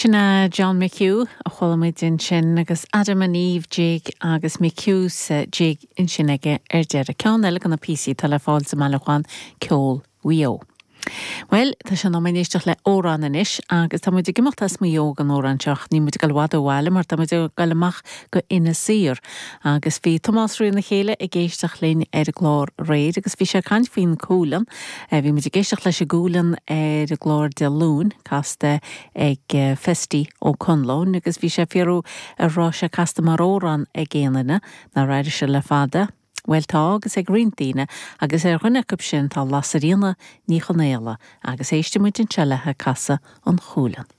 Sin é John McHugh a chuala muid ansin agus Adam and Eve jig agus McHugh's jig ansin aige ar deireadh. Ceann eile de na píosaí atá le fáil sa mbailiúchán Ceol Mhaigh Eo. Bhuel, tá sé in am éisteacht le amhrán anois agus tá muid ag imeacht as Maigh Eo don amhrán seo ach níl muid ag dul i bhfad ó bhaile mar tá muid ag dul amach go Inis Oírr agus bhí Tomás Rí na Céile ag éisteacht linn ar an gclár aréir agus bhí sé ag caint faoin Cualann. Bhí muid ag éisteacht leis an gCualann ar an gclár Dé Luain, casta ag Festy Ó Conluain agus bhí sé ag fiafraí an raibh sé casta mar amhrán ag aon duine nár airigh sé le fada. Bhuel tá agus ag roinnt daoine agus ar dhuine acu sin tá Lasairfhíona Ní Chonaola agus éistfidh muid anseo léi ag casadh an Chualann.